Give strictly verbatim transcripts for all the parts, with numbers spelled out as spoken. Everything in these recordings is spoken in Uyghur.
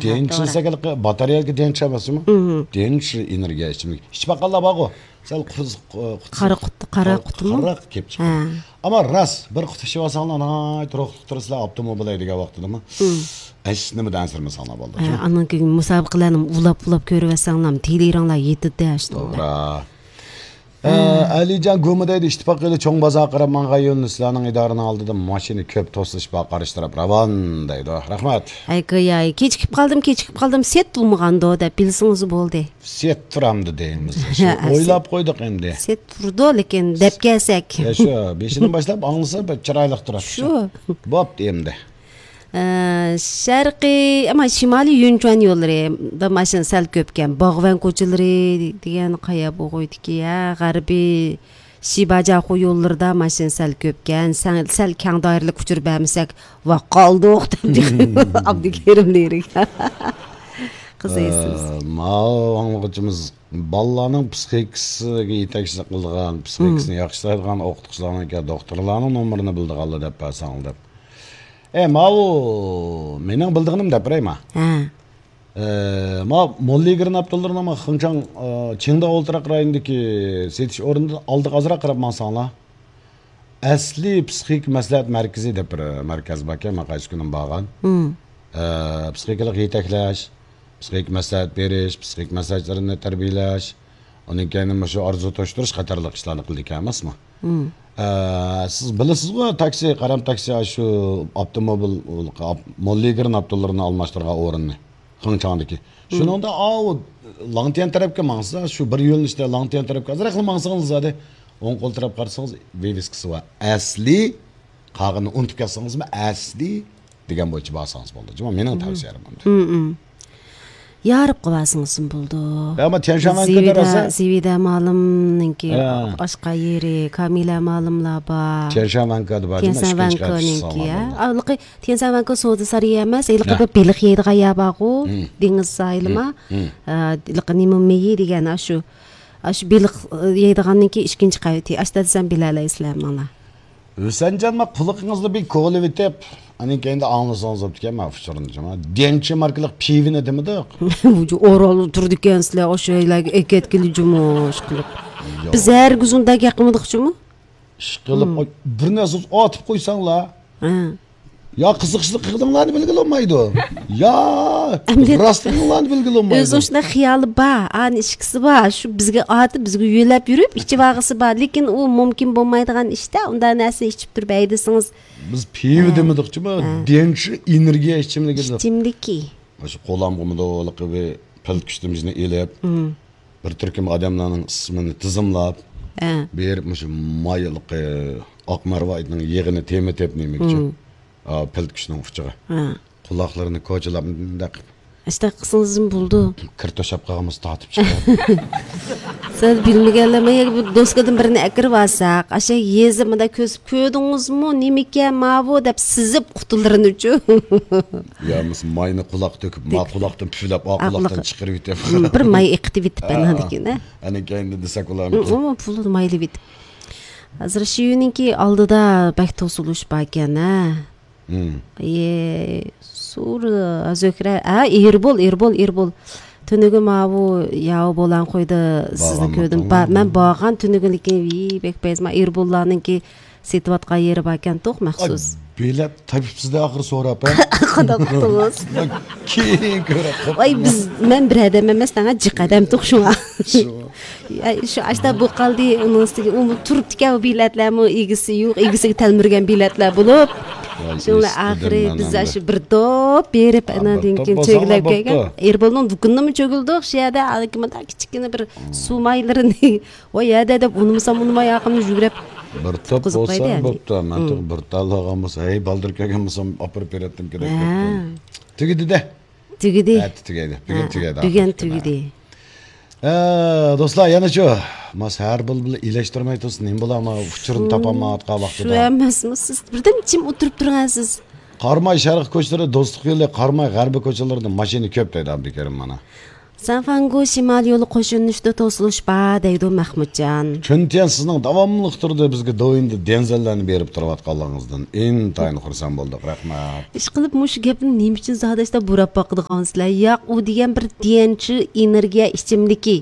دېنچى دېسەك، باتارېيەگە دېنچى ئەمەسمۇ؟ دېنچى ئېنېرگىيە ئىچىملىكى ئىچىپ باققانلار بارغۇ. سەل قۇتى، قۇتى قارا قۇتىمۇ؟ قارا قۇتۇپ چىققان. ئەمما راست بىر قۇت ئىچىپ ئالساڭلار، ناھايىتى روھلۇق تۇرىسىلەر، ئاپتوموبىل ھەيدىگەن ۋاقتىدىمۇ. ھېچ نېمىدىن ئەنسىرىمىسەڭلار بولدى. ئاندىن كېيىن مۇسابىقىلەرنى ئۇلاپ ئۇلاپ كۆرۈۋەتسەڭلار، تېلېرىڭلار يېتىدۇ. توغرا. ئە، ئەلىجان گۇمى دەيدۇ، ئىتتىپاق يولى چوڭ بازارغا قاراپ ماڭغان يولنى سىلەرنىڭ ئىدارىنىڭ ئالدىدا ماشىنا كۆپ توسۇلۇش بار، قارشى تەرەپ راۋان دەيدۇ. رەھمەت. ھەي، گويا، كېچىكىپ قالدىم، كېچىكىپ قالدىم، سېت بولمىغاندۇ دەپ بىلسىڭىز بولدى. سېت تۇرامدۇ دەيمىز. شۇ ئويلاپ قويدۇق ئەمدى. سېت تۇرىدۇ، لېكىن دەپ كەلسەك. يا، شۇ بېشىدىن باشلاپ ئاڭلىسا بەك چىرايلىق تۇراتتى. شۇ. بوپتۇ ئەمدى. ئە، شەرقىي، ئەمما شىمالىي يۈنچۈەن يوللىرى، دا ماشىنا سەل كۆپكەن. باغۋەن كوچىلىرى دېگەن قايا بوغۇيدىكى، ھە، غەربىي شىباجاخۇ يوللىرىدا ماشىنا سەل كۆپكەن. سەل، سەل كەڭ دائىرىلىك ئۇچۇر بەرمىسەك، ۋاق قالدۇق، دەپ ئابدۇكېرىم لىرىك. قىزىقسىز. ئە، ماۋۇ ئاڭلىغۇچىمىز بالىلارنىڭ پسىخىكىسىگە يېتەكچىلىك قىلىدىغان، پسىخىكىسىنى ياخشىلايدىغان ئوقۇتقۇچىلارنىڭكى، دوختۇرلارنىڭ نومۇرىنى بىلىدىغانلار دەپ بەرسەڭلار دەپ. ئە، ماۋۇ مېنىڭ بىلىدىغىنىم دەپ بېرەي ما. ھە. ئە، ما موللىگىرىن ئابدۇللىرىنىڭ ما خېڭچاڭ، ئە، چىڭداۋ ئولتۇراق رايونىدىكى سېتىش ئورنىدىن ئالدىغا ئازراق قاراپ ماڭساڭلار. ئەسلىي پسىخىك مەسلىھەت مەركىزى دەپ بىر مەركەز باركەن، مەن قايسى كۈنى بارغان. ئە، پسىخىكىلىق يېتەكلەش، پسىخىك مەسلىھەت بېرىش، پسىخىك مەسلىھەتچىلەرنى تەربىيەلەش، ئۇنىڭ كەينى مۇشۇ ئارزۇ توشتۇرۇش قاتارلىق ئىشلارنى قىلىدىكەن ئەمەسمۇ؟ ئە، سىز بىلىسىزغۇ، تاكسى، قارام تاكسى، شۇ ئاپتوموبىل، موللىگىرىن ئاپتولىرىنى ئالماشتۇرغان ئورۇننى. خېڭچاڭدىكى. شۇنىڭدا ئاۋۇ لاڭتيەن تەرەپكە ماڭسا، شۇ بىر يۆنىلىشتە لاڭتيەن تەرەپكە ئازراقلا ماڭسىڭىز زادى، ئوڭ قول تەرەپ قارىسىڭىز، ۋىۋىسكىسى بار. ئەسلى، قالغىنىنى ئۇنتۇپ كەتسىڭىزمۇ، ئەسلى دېگەن بويىچە بارسىڭىز بولدى. جۇمۇ، مېنىڭ تەۋسىيەم ئەمدى. يارىپ قىلىۋالسىڭىزمۇ بولىدۇ. ئەمما تيەنشانۋەنكىدە زىۋىدە، راسا زىۋىدە مالىمنىڭكى ئاشقا يېرى، كامىلە مالىملار بار. تيەنشانۋەنكىدە بار، جۇمۇ، ئىككىنچى قېتىمكى، قېتىمكى، ھە. ئاۋلىقى تيەنشانۋەنكى سودا سارىيى ئەمەس، ھېلىقى بىر بېلىق يەيدىغان يەر بارغۇ، دېڭىز ساھىلىما. ھېلىقى نېمە مېيى دېگەن، ئاشۇ، ئاشۇ بېلىق، ئە، يەيدىغاننىڭكى ئىككىنچى قەۋىتى. ئاشتا دېسەم بىلەلەيسىلەر ماڭا. ھۈسەنجان، ما قۇلىقىڭىزنى بىر كوۋلىۋېتىپ، ئاندىن كەينىدە ئاڭلىسىڭىز بوپتىكەن، ما ئۇچۇرنى جۇمۇ. دېنچى ماركىلىق پىۋىنى دېمىدۇق. ئورالدا تۇرىدىكەنسىلەر، ئاشۇ يەرلەرگە ئەكەتكىلى جۇمۇ، ئىشقىلىپ. بىز ھەرگىز ئۇنداق گەپ قىلمىدۇق جۇمۇ. ئىشقىلىپ، بىر نەرسە ئاتىپ قويساڭلار. يا قىزىقىشلىق قىلغىنىڭلارنى بىلگىلى بولمايدۇ. يا ئەمدى راستلىقىڭلارنى بىلگىلى بولمايدۇ. ئۆزىنىڭ شۇنداق خىيالى بار، ئانى ئىچكۈسى بار. شۇ بىزگە ئاتىپ، بىزگە يۆلەپ يۈرۈپ، ئىچىۋالغۇسى بار. لېكىن ئۇ مۇمكىن بولمايدىغان ئىشتا، ئۇنداق نەرسىنى ئىچىپ تۇرۇپ ھەيدىسىڭىز. بىز پىۋا دېمىدۇقچىمۇ؟ دېنچى ئېنېرگىيە ئىچىملىكى دېدۇق. ئىچىملىكى. مۇشۇ قولامغىمۇ دولىقى بىر پىلتىكۈچتىمىزنى ئېلىپ، بىر تۈركۈم ئادەملەرنىڭ ئىسمىنى تىزىملاپ، بېرىپ مۇشۇ مايلىقى ئاق مەرۋايىتنىڭ يېغىنى تېمىتىپ نېمە ئۈچۈن؟ پىلتىكۈچنىڭ ئۇچىغا. قۇلاقلىرىنى كوچىلاپ مۇنداق ئىشتە قىلسىڭىزمۇ بولىدۇ. كىر توشاپ قالغانمىز تارتىپ چىقىپ. سەل بىلمىگەنلەر، ما يەرگە بىر دوسكىدىن بىرنى ئەكىرىۋالساق، ئاشۇ يېزىپ مۇنداق كۆزۈپ، كۆردىڭىزمۇ، نېمىكەن ماۋۇ دەپ سىزىپ قۇتۇلىرىنىچۇ. يا بولمىسا ماينى قۇلاققا تۆكۈپ، ما قۇلاقتىن پۈۋلەپ، ئا قۇلاقتىن چىقىرىۋېتىپ. بىر ماي ئېقىتىۋېتىپ، ئاندىن كېيىن، ھە. ئەنە كەينىدە دېسەك ئۇلارنىڭكى. ئۇمۇ پۇلىنى مايلىۋېتىپ. ھازىر شىۋىنىڭكى ئالدىدا بەك توسۇلۇش باركەن، ھە. ئى، سۇر، زۆھرە، ھە، ئېربول، ئېربول، ئېربول. تۈنۈگۈن ماۋۇ ياۋا بولان قويدا سىزنى كۆردۈم. مەن بارغان تۈنۈگۈن، لېكىن، ۋىي، بەك پەيزىما ئېربوللارنىڭكى سېتىۋاتقان يېرى باركەن توق مەخسۇس. بېلەت تېپىپسىز-دە ئاخىر سوراپ، ھە؟ قانداق قىلدىڭىز؟ كېيىن كۆرۈپ قاپتىمەن. ۋاي، بىز، مەن بىر ئادەم ئەمەس، دەڭە جىق ئادەم توق شۇڭا. شۇ ئاشتا بۇ قالدى، ئۇنىڭ ئۈستىگە ئۇمۇ تۇرۇپتىكەن، ئۇ بېلەتلەرمۇ ئىگىسى يوق، ئىگىسىگە تەلمۈرگەن بېلەتلەر بولۇپ. شۇڭا ئاخىرى بىز شۇ بىر توپ بېرىپ، ئاندىن كېيىن چۆگىلەپ كەلگەن. ئېربولنىڭ دۇكىنىنىمۇ چۆگۈلدۇق، شۇ يەردە ئاكىمدا كىچىككىنە بىر سۇ مايلىرىنى، ۋاي يەدە دەپ ئۇنىمىسام ئۇنىماي ئاقىمنى يۈگۈرۈپ. بىر توپ بولسا بوپتۇ، مەن بىر تال ئالغان بولسا، ھەي بالدۇر كەلگەن بولسام ئاپىرىپ بېرەتتىم كېرەك. تۈگىدى-دە. تۈگىدى. ئەتە تۈگەيدى. بۈگۈن تۈگەيدى. بۈگۈن تۈگىدى. ئە، دوستلار، يەنە شۇ، ماس ھەر بىر بىلەن ئىلەشتۈرمەي تۇرسۇن، نېمە بولا، ما ئۇچۇرنى تاپالمايۋاتقان ۋاقتىدا. شۇ ئەمەسمۇ، سىز بىردەم جىم ئولتۇرۇپ تۇرغانسىز. قاراماي شەرق كوچىلىرى، دوستلۇق يولى، قاراماي غەربىي كوچىلىرىدا ماشىنا كۆپ دەيدۇ ئابدۇكېرىم مانا. سانفاڭگو شىمال يولى قوش يۆنىلىشىدە توسۇلۇش بار، دەيدۇ مەخمۇتجان. چۈنتيەن سىزنىڭ داۋاملىق تۈردە بىزگە دوۋيىندە دەنزەللەرنى بېرىپ تۇرۇۋاتقانلىقىڭىزدىن ئىنتايىن خۇرسەن بولدۇق. رەھمەت. ئىشقىلىپ، مۇشۇ گەپنى نېمە ئۈچۈن زادى ئاشتا بۇراپ باقىدىغانسىلەر؟ ياق، ئۇ دېگەن بىر ديەنچۈ ئېنېرگىيە ئىچىملىكى.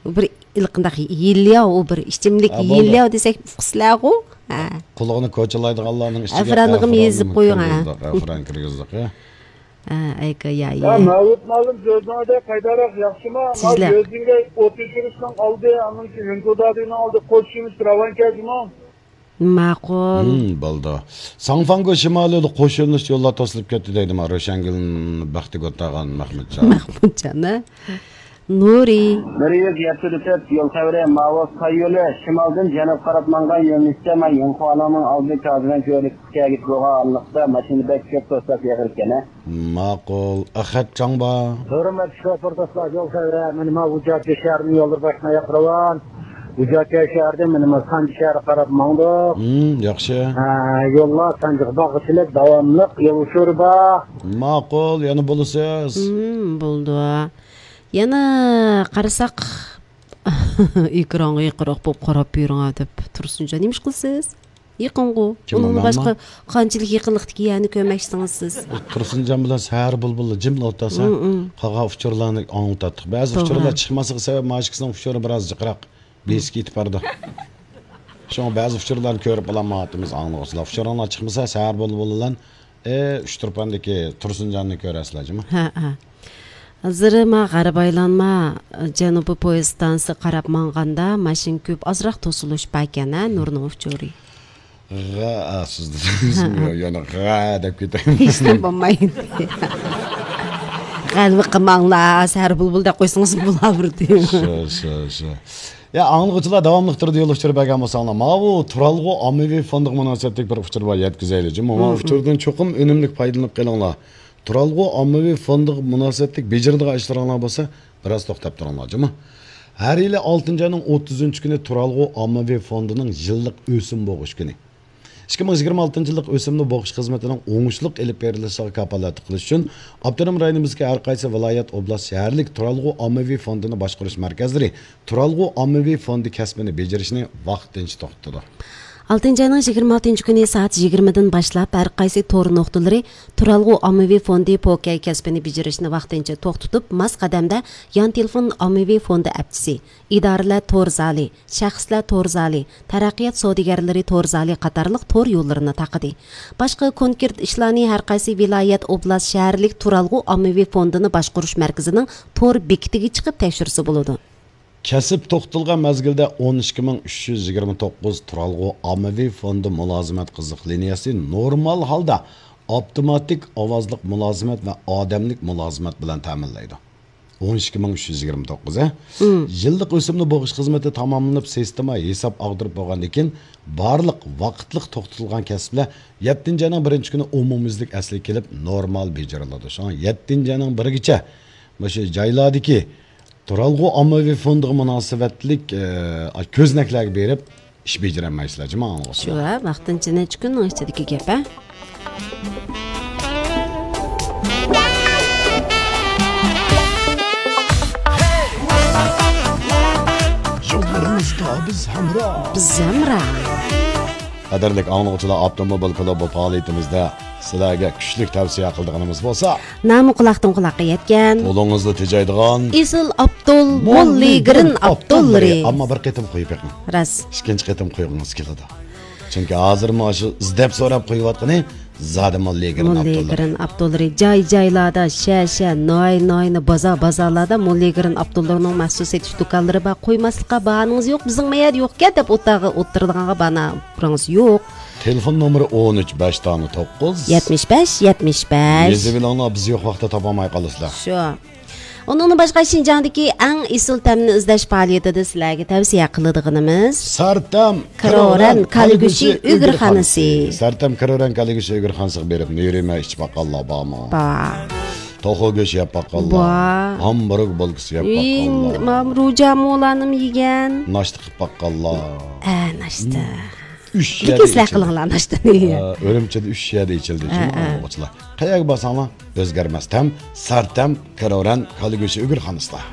ئۇ بىر ھېلىقىنداق يېلىياۋ، ئۇ بىر ئىچىملىك ھە، بولدى. يېلىياۋ دېسەك، ئۇقىسىلەرغۇ؟ ھە. قۇلىقىنى كوچىلايدىغانلارنىڭ ئىچىگە ئەفرانىغىمۇ يېزىپ قويۇڭ، ھە. كىرگۈزدۇق، ئەفران كىرگۈزدۇق، ھە. ھە، ئەيكە، يا، يا، يا. مەۋلۇت مۇئەللىم، سۆزۈڭىزدە قايتاراق ياخشىما؟ سىزلەر. يۆزىڭگە ئوت ئۆچۈرۈشنىڭ ئالدى، ئانىڭ كېيىن ھۈنكۇدادىنىڭ ئالدى، قوش يۆنىلىش راۋان كەجمۇ؟ ماقۇل. ھىم، بولدى. ساڭفاڭگو شىمالىدا قوش يۆنىلىش يوللار توسۇلۇپ كەتتى دەيدۇ، ما، روشەنگۈل بەختىگۈل تاغان مەخمۇتجان. مەخمۇتجان، ھە؟ نۇرى. بىر يۈز يەتتە تۆت يول خەۋىرى، ماۋۇ ساي يولى شىمالدىن جەنۇبقا قاراپ ماڭغان يۆنىلىشتە، ما، يىڭخۇالىڭنىڭ ئالدى كازىۋەن كۆۋرۈكى كەگىچ بولغان ئارىلىقتا ماشىنا بەك كۆپ توساپ يىغىلىدىكەن، ھە؟ ماقۇل. ئەخەت چاڭبا. ھۆرمەتلىك شوپۇر دوستلار، يول خەۋىرى، مانا ما ۋۇجاتيا شەھىرىنىڭ يوللىرى باشقا ياققا راۋان. ۋۇجاتيا شەھىرىدىن مانا ما سانجى شەھىرىگە قاراپ ماڭدۇق. ھىم، ياخشى. ھە، يوللار سانجىغا بارغۇچىلىك داۋاملىق يول ئۇچۇرى بار. ماقۇل، يەنە بولىسىز. ھىم، بولدى. يەنە قارىساق، ئېكرانغا يېقىنراق بولۇپ قاراپ يۈرۈڭ دەپ تۇرسۇنجان، نېمە ئىش قىلىسىز؟ يېقىنغۇ. كىم ئۇ؟ ئۇنىڭدىن مەنمۇ؟ باشقا قانچىلىك يېقىنلىقتىكى يەرنى كۆرمەكچىسىڭىز سىز؟ تۇرسۇنجان بىلەن سەھەر بۇلبۇلى جىملا ئولتۇرسا، ھىم، ھىم. قالغان ئۇچۇرلارنى ئاڭلىتاتتۇق. بەزى توغرا. ئۇچۇرلار چىقماسلىقى سەۋەبىدىن ئىككىسىنىڭ ئۇچۇرى بىراز جىقراق. بېسىپ كېتىپ بارىدۇ. شۇڭا بەزى ئۇچۇرلارنى كۆرۈپ بولالمايۋاتىمىز، ئاڭلىغۇچىلار. ئۇچۇرۇڭلار چىقمىسا، سەھەر بۇلبۇلى بىلەن، ئى، ئۇچتۇرپاندىكى تۇرسۇنجاننى كۆرەرسىلەر جۇمۇ. ھە، ھە. ھازىر ما غەرب ئايلانما، جەنۇبىي پويىز ئىستانسىسىغا قاراپ ماڭغاندا ماشىنا كۆپ، ئازراق توسۇلۇش باركەن، ھە، نۇرنىڭ ئۇچۇرى. غە، ئا، سىز دېدىڭىز، ھە، ھە. يەنە غە دەپ كېتەي. ھېچنېمە بولمايدۇ. غەلۋە قىلماڭلار، سەھەر بۇلبۇل دەپ قويسىڭىز بولۇۋېرىدۇ. شۇ، شۇ، شۇ. يا، ئاڭلىغۇچىلار داۋاملىق تۈردە يول ئۇچۇرى بەرگەن بولساڭلار، ماۋۇ تۇرالغۇ ئاممىۋى فوندىغا مۇناسىۋەتلىك بىر ئۇچۇر بار، يەتكۈزەيلى جۇمۇ. ماۋۇ، مم، مم، ئۇچۇردىن چوقۇم ئۈنۈملۈك پايدىلىنىپ قېلىڭلار. تۇرالغۇ ئاممىۋى فوندىغا مۇناسىۋەتلىك بېجىرىدىغان ئىشلىرىڭلار بولسا، بىراز توختاپ تۇرۇڭلار جۇمۇ. ھەر يىلى ئالتىنچى ئاينىڭ ئوتتۇزىنچى كۈنى تۇرالغۇ ئاممىۋى فوندىنىڭ يىللىق ئۆسۈم بوغۇش كۈنى. ئىككى مىڭ يىگىرمە ئالتىنچى يىللىق ئۆسۈمنى بوغۇش خىزمىتىنىڭ ئوڭۇشلۇق ئېلىپ بېرىلىشىغا كاپالەتلىك قىلىش ئۈچۈن، ئاپتونوم رايونىمىزدىكى ھەر قايسى ۋىلايەت، ئوبلاست، شەھەرلىك تۇرالغۇ ئاممىۋى فوندىنى باشقۇرۇش مەركەزلىرى تۇرالغۇ ئاممىۋى فوندى كەسپىنى بېجىرىشنى ۋاقتىنچە توختىتىدۇ. ئالتىنچى ئاينىڭ يىگىرمە ئالتىنچى كۈنى سائەت يىگىرمىدىن باشلاپ، ھەر قايسى تور نۇقتىلىرى تۇرالغۇ ئاممىۋى فوندى پوكەي كەسپىنى بېجىرىشنى ۋاقتىنچە توختىتىپ، ماس قەدەمدە يان تېلېفون ئاممىۋى فوندى ئەپچىسى، ئىدارىلەر تور زالى، شەخسلەر تور زالى، تەرەققىيات سودىگەرلىرى تور زالى قاتارلىق تور يوللىرىنى تاقىدى. باشقا كونكرېت ئىشلارنى ھەر قايسى ۋىلايەت، ئوبلاست، شەھەرلىك تۇرالغۇ ئاممىۋى فوندىنى باشقۇرۇش مەركىزىنىڭ تور بېكىتىگە چىقىپ تەكشۈرسە بولىدۇ. كەسىپ توختىتىلغان مەزگىلدە ئون ئىككى مىڭ ئۈچ يۈز يىگىرمە توققۇز تۇرالغۇ ئاممىۋى فوندى مۇلازىمەت قىزىق لىنىيەسى نورمال ھالدا ئاپتوماتىك ئاۋازلىق مۇلازىمەت ۋە ئادەملىك مۇلازىمەت بىلەن تەمىنلەيدۇ. ئون ئىككى مىڭ ئۈچ يۈز يىگىرمە توققۇز، ھە؟ مم. يىللىق ئۆسۈمنى بوغۇش خىزمىتى تاماملىنىپ، سىستېما ھېساب ئاغدۇرۇپ بولغاندىن كېيىن، بارلىق ۋاقىتلىق توختىتىلغان كەسىپلەر يەتتىنچى ئاينىڭ بىرىنچى كۈنى ئومۇميۈزلۈك ئەسلىگە كېلىپ، نورمال بېجىرىلىدۇ. شۇڭا يەتتىنچى ئاينىڭ بىرىگىچە مۇشۇ جايلاردىكى تۇرالغۇ ئاممىۋى فوندىغا مۇناسىۋەتلىك، ئە، كۆزنەكلەرگە بېرىپ، ئىش بېجىرەلمەيسىلەر جۇمۇ ئاڭلىغۇچىلار. شۇ، ھە، ۋاقتىنچە نەچچە كۈننىڭ ئىچىدىكى گەپ، ھە. يوللىرىڭىزدا بىز ھەمراھ. بىز ھەمراھ. قەدىرلىك ئاڭلىغۇچىلار، ئاپتوموبىل كۇلۇبى پائالىيىتىمىزدە سىلەرگە كۈچلۈك تەۋسىيە قىلىدىغىنىمىز بولسا، نامۇ قۇلاقتىن قۇلاققا يەتكەن، قولىڭىزدا تېجەيدىغان ئېسىل ئابدۇل، موللىگرىن ئابدۇللىرى. ئەمما بىر قېتىم قويۇپ بېقىڭ. راست. ئىككىنچى قېتىم قويغۇڭىز كېلىدۇ. چۈنكى ھازىرمۇ شۇ ئىزدەپ سوراپ قويۇۋاتقىنى زادى موللىگرىن ئابدۇللىرى. موللىگرىن ئابدۇللىرى. جاي-جايلاردا، شەھەر-شەھەر، ناھىيە-ناھىيەنى، بازار-بازارلاردا موللىگرىن ئابدۇللىرىنىڭ مەخسۇس سېتىش دۇكانلىرى بار. قويماسلىققا باھانىڭىز يوق، بىزنىڭ مەيەردە يوقكەن دەپ ئوتتۇرىغا ئوتتۇرىدىغانغا باھانە ئۇرىڭىز يوق. تېلېفون نومۇرى ئون ئۈچ، بەش دانە توققۇز. يەتمىش بەش، يەتمىش بەش. يېزىۋېلىڭلار، بىز يوق ۋاقىتتا تاپالماي قالىسىلەر. شۇ. ئۇنىڭدىن باشقا، شىنجاڭدىكى ئەڭ ئېسىل تەمنى ئىزدەش پائالىيىتىدە سىلەرگە تەۋسىيە قىلىدىغىنىمىز سەرتەم كارورەن كالا گۆشى ئۆگرىخانىسى. سەرتەم كارورەن كالا گۆشى ئۆگرىخانىسىغا بېرىپ، نېرىمە ئىچىپ باققانلار بارمۇ؟ بار. توخۇ گۆشى يەپ باققانلار؟ بار. ھامبۇرگ بولكىسى يەپ باققانلار؟ مام روجامۇلارنىمۇ يېگەن. ناشتا قىلىپ باققانلار؟ ئە، ناشتا. ئۈچ يەردە ئىچىلدى. قىلىڭلار ئاشتىنى. ئە، ئۈرۈمچىدە ئۈچ يەردە ئىچىلدى. ھە، ھە. ئوقۇغۇچىلار. قەيەرگە بارساڭلار، ئۆزگەرمەس تەم، سارتەم، كىروران، كالىگۆشى ئۆگۈر خانىسلار.